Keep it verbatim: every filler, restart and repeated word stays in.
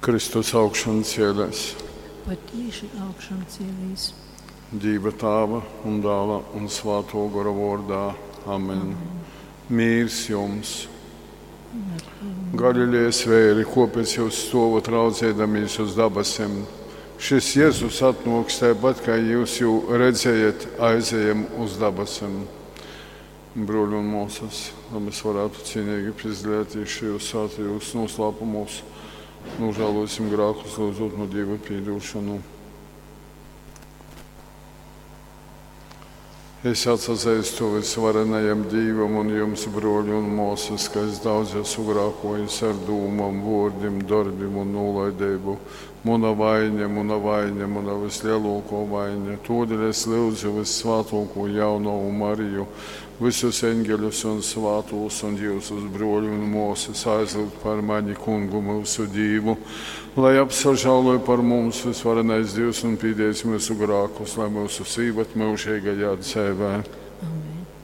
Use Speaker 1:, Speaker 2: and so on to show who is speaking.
Speaker 1: Kristus augšan cielēs.
Speaker 2: Patīši augšām cēlīs.
Speaker 1: Dīva Tāva un Dāla un Svāto Gora vārdā. Amen. Amen. Mīrs jums! Galilejas vēri, kopēc jūs stovat raudzēdamies uz dabasim? Šis Jēzus atnāks tāpat, kā jūs jū redzējat, aizejam uz dabasim. Broļi un māsas, lai mēs varētu cienīgi piedalīties šajos svētajos noslēpumos, nožēlosim grēkus, lūdzot no Dieva piedošanu. Es atsazīstu visvarenajam Dievam un jums, broļi un māsas, ka es daudz esmu grēkojis ar dūmām, vārdiem, darbiem un nolaidību. Muna vaina, muna vaina, muna vislielāko vaina. Todēļ es lūdzu vissvētāko jaunavu Mariju, visus eņģeļus un svētos un jūsus broļu un māsas aizlūgt par mani kungu mūsu Dievu, lai apsažāloja par mums visvarenais Dievs un pīdēs mūsu grākus, lai mūsu sīvat mūžīgajā dzīvē.
Speaker 2: Amen.